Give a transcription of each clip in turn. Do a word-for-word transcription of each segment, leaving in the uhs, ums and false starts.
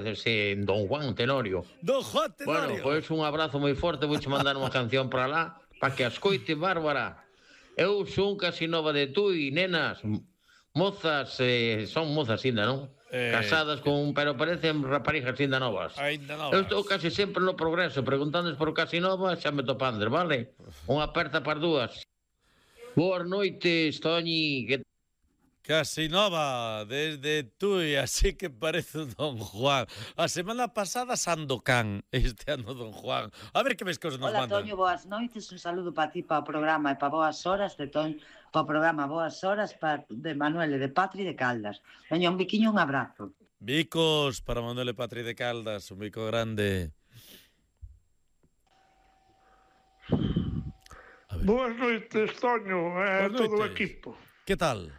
Ese Don Juan Tenorio. Don Juan Tenorio. Bueno, pois un abrazo moi forte, vouche mandar unha canción para lá, para que a escoite, Bárbara. Eu son casi nova de tú e nenas, mozas, eh, son mozas ainda, non? Eh, Casadas con, pero parecen raparigas ainda novas. Ainda novas. Eu estou casi sempre no Progreso, preguntándoles por casi novas, xa me topandes, vale? Unha aperta para dúas. Boas noites, Toñi, que Casi nova, desde Tui, así que parece Don Juan. A semana pasada Sandokan, este ano Don Juan. A ver que ves cosas nos Hola, mandan. Toño, boas noites, un saludo para ti, para o programa e para boas horas de Toño, para o programa Boas Horas para, de Manuel e de Patri de Caldas. Veña, un biquiño, un abrazo. Bicos para Manuel e Patri de Caldas, un bico grande. Boas noites, Toño, e eh, todo o equipo. Que tal?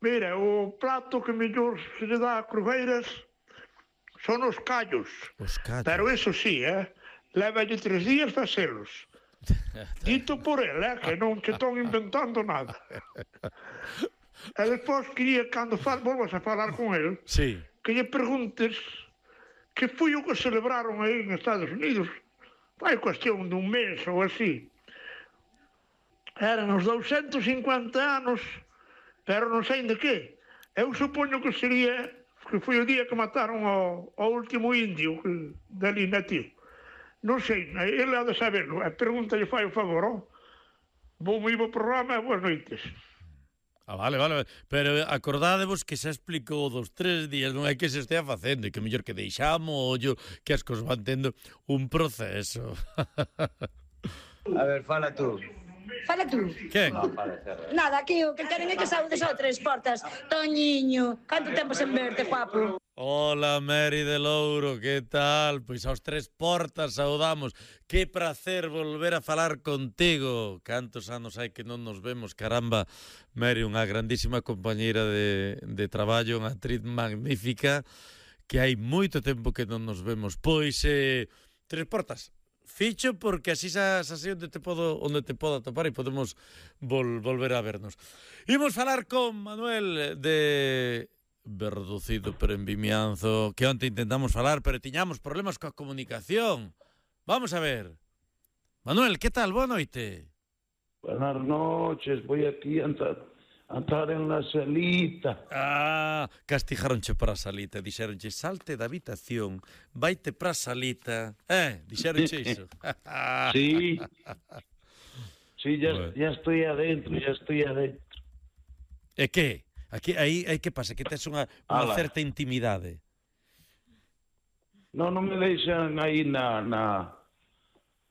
Mira, o prato que mellor se lle dá a Crujeiras son os callos. Os callos. Pero eso sí, eh, lévalle tres días facelos. Dito por ele, eh, que non che estón inventando nada. E despois quería, cando fal, volvas a falar con el, sí. que lle preguntes que foi o que celebraron aí en Estados Unidos. Vai cuestión dun mes ou así. Eran os douscentos e cincuenta anos, pero non sei de que. Eu supoño que sería que foi o día que mataron ao, ao último indio que, dali nativo. Non sei, ele ha de saberlo. E pregúntalle, fai o favor, oh? Bo moi bo programa e boas noites. Ah, vale, vale, pero acordádevos que xa explicou dos tres días, non é que se estea facendo, e que mellor que deixamos ollo, que as cosas van tendo un proceso. A ver, fala tú. Fala tú. Quen? Nada, aquí o que queren é que saúdes ao Tres Portas. Toñiño, canto tempo sen verte, guapo. Hola, Mary de Louro, que tal? Pois aos Tres Portas saudamos. Que prazer volver a falar contigo. Cantos anos hai que non nos vemos, caramba. Mary, unha grandísima compañeira de, de traballo, unha actriz magnífica, que hai moito tempo que non nos vemos. Pois, eh, Tres Portas, ficho porque así xa sei onde te podo onde te podo atopar e podemos vol, volver a vernos. Imos falar con Manuel de Verducido pero en Vimianzo, que onte intentamos falar, pero tiñamos problemas coa comunicación. Vamos a ver. Manuel, que tal? Boa noite. Buenas noches, voy aquí a entrar, a entrar en la salita. Ah, castijaronche para a salita, dixeronche salte da habitación, vaite para a salita. Eh, dixeronche iso. Sí. Sí, ya, bueno. ya estoy adentro, ya estoy adentro. E que? Aquí, aí, aí que pasa? Que tes unha, unha Ala. certa intimidade. No, non me deixan aí na... na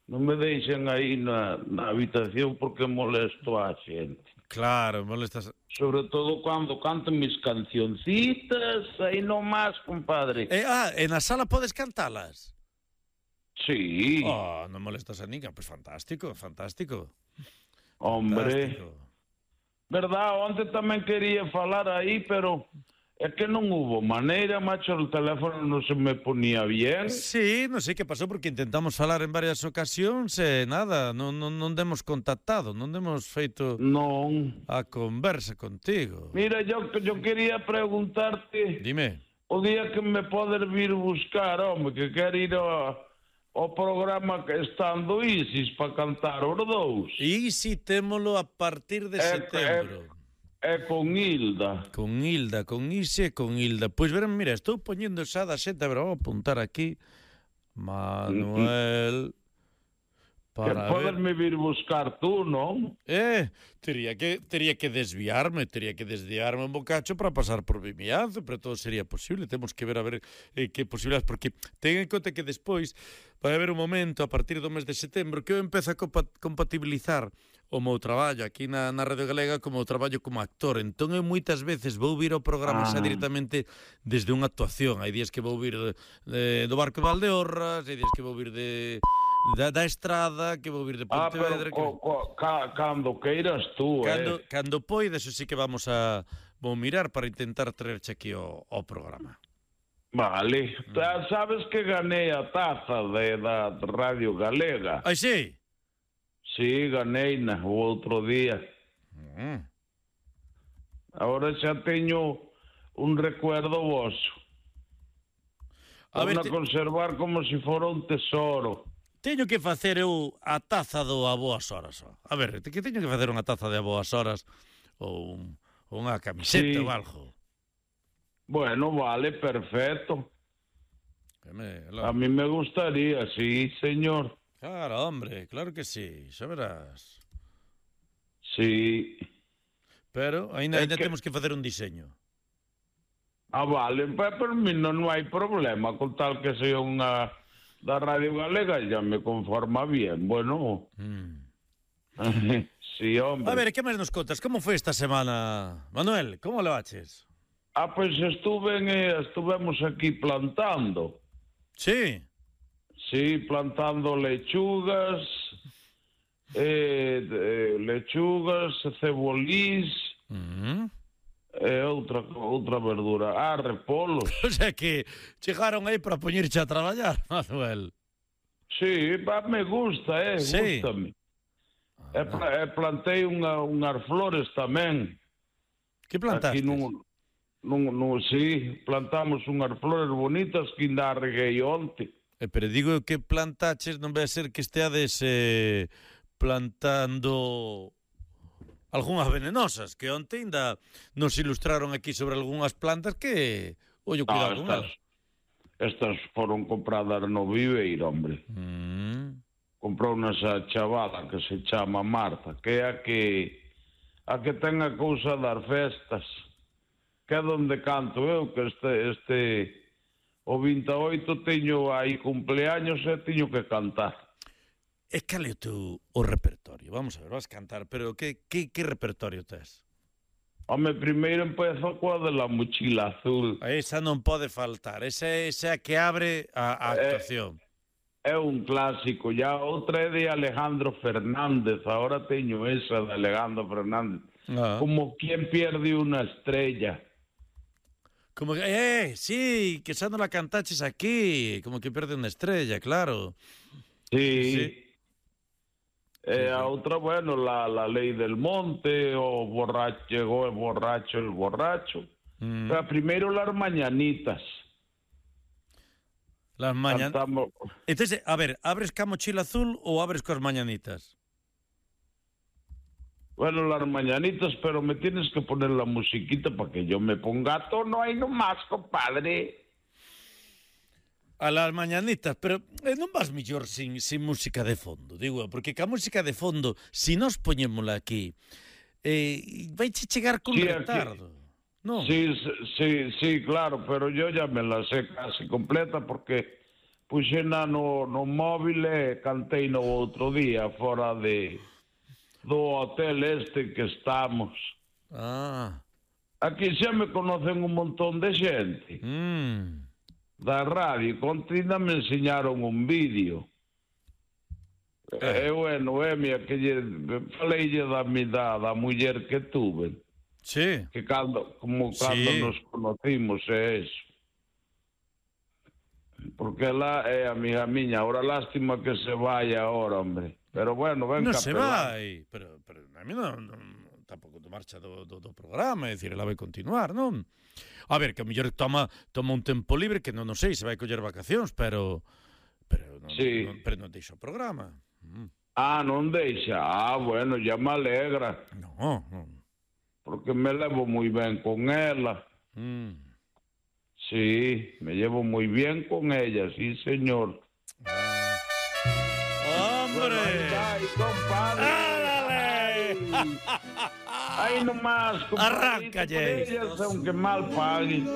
non me deixan aí na, na habitación porque molesto a xente. Claro, molestas... Sobre todo cando canto mis cancioncitas, aí nomás, compadre. E, ah, e na sala podes cantalas? Sí. Oh, non molestas a ninguén, pois fantástico, fantástico. Hombre. Fantástico. Verdad, onte tamén quería falar aí, pero é que non hubo maneira, macho, o teléfono non se me ponía bien. Sí, non sei que pasou, porque intentamos falar en varias ocasións e nada, non, non, non demos contactado, non demos feito non a conversa contigo. Mira, yo, yo quería preguntarte... Dime. O día que me podes vir buscar, home, que quero ir ao, ao programa que estando Isis para cantar os dous. Isi témolo a partir de é, setembro. É, é con Hilda. Con Hilda, con Isi e con Hilda. Pois verán, mira, estou poñendo xa da xeta, pero vou apuntar aquí. Manuel... Para que poderme vir buscar tú, non? Eh, tería que tería que desviarme, tería que desviarme un bocacho para pasar por Vimianzo, pero todo sería posible. Temos que ver a ver eh, que posibilidades, porque ten en conta que despois vai haber un momento a partir do mes de setembro que eu empezo a compatibilizar o meu traballo aquí na, na Radio Galega como o traballo como actor. Entón eu moitas veces vou vir ao programa ah. xa directamente desde unha actuación. Hai días que vou vir de, de, do Barco de Valdeorras, hai días que vou vir de Da, da estrada, que vou vir de Pontevedra. Ah, pero que... co, co, ca, cando queiras tú, cando, eh. Cando poides, eso sí que vamos a vou mirar para intentar traerche aquí o, o programa. Vale. Mm. Sabes que ganei a taza de, da Radio Galega? Ai, sí? Sí, ganei na o outro día. Mm. Agora xa teño un recuerdo voso. A ver, Vamos a te- conservar como se fora un tesoro. teño que facer eu a taza do a boas horas. Ó. A ver, te- que teño que facer unha taza de a boas horas ou un, unha camiseta Sí. ou algo. Bueno, vale, perfecto. Que me, A lo... mí me gustaría, sí, señor. Claro, hombre, claro que sí, xa verás. Sí. Pero ainda, É ainda que- temos que facer un diseño. Ah, vale, pues por mí non, non hai problema, con tal que sea unha da Radio Galega, ya me conforma bien. Bueno, Mm. sí, hombre. A ver, que máis nos contas? Como foi esta semana? Manuel, como lo haches? Ah, pues estuve en, eh, estuvemos aquí plantando. Sí. Sí, plantando lechugas, eh, de- lechugas, cebolís, Mm. e outra, outra verdura. Ah, repolos. O sea que chegaron aí para poñerche a traballar, Manuel. Sí, va, me gusta, eh, Sí. gústame. E, pla- e plantei unha, unhas flores tamén. Que plantaste? Aquí nun, nun, nun, sí, plantamos unhas flores bonitas que ainda reguei onte. Eh, pero digo que plantaches, non vai a ser que esteades eh, plantando algunhas venenosas, que onte ainda nos ilustraron aquí sobre algunhas plantas que, ollo, cuidado con estas, elas. estas foron compradas no Viveiro, hombre. Mm. Comprou unha esa chavala que se chama Marta, que é a que a que ten a cousa das festas, que é donde canto eu, que este, este o vinte e oito teño aí cumpleaños e teño que cantar. E cal é o teu o repertorio? Vamos a ver, vas cantar, pero que, que, que repertorio tes? Home, primeiro empezo coa de la mochila azul. A esa non pode faltar, esa é esa que abre a, a actuación. É un clásico, ya outra é de Alejandro Fernández, ahora teño esa de Alejandro Fernández. Ah. Como quien pierde una estrella. Como que, eh, sí, que xa non la cantaches aquí, como que perde unha estrella, claro. Sí. Sí. Eh, a outra, bueno, la, la ley del monte, o borracho, llegó el borracho, el borracho. Mm. Pero primero las mañanitas. Las mañanitas. Cantamos. Entonces, a ver, abres ca mochila azul ou abres coas mañanitas? Bueno, las mañanitas, pero me tienes que poner la musiquita para que yo me ponga a tono ahí nomás, compadre. A las mañanitas, pero eh, non vas mellor sin, sin música de fondo, digo, porque ca música de fondo, si nos poñémola aquí, eh, vai che chegar con Sí, retardo, non? Sí, sí, sí, claro, pero yo ya me la sé casi completa porque puxena no, no móvil e cantei no outro día fora de do hotel este que estamos. Ah, Aquí xa me conocen un montón de xente mm. da radio. Contina me enseñaron un vídeo. Eh. E bueno, é mía que lle faleille da mi da, da muller que tuve. Sí. Que cando, como cando Sí. nos conocimos é eso. Porque ela é amiga miña. Ahora lástima que se vaya ahora, hombre. Pero bueno, ven Non se capelán. vai, pero, pero a mí non, non tampouco do marcha do, do, do programa, é dicir, ela vai continuar, non? A ver, que a mellor toma toma un tempo libre que non, non sei se vai coller vacacións, pero pero non, Sí. non, pero non deixa o programa. Mm. Ah, non deixa. Ah, bueno, ya me alegra. No, non. Porque me levo moi ben con ela. Mm. Sí, me llevo muy bien con ella, sí, señor. ¡Hombre! Ay, compadre. ¡Ándale! Ay, ay, nomás, compadre. Arranca, Jay. Ellas, aunque mal paguen.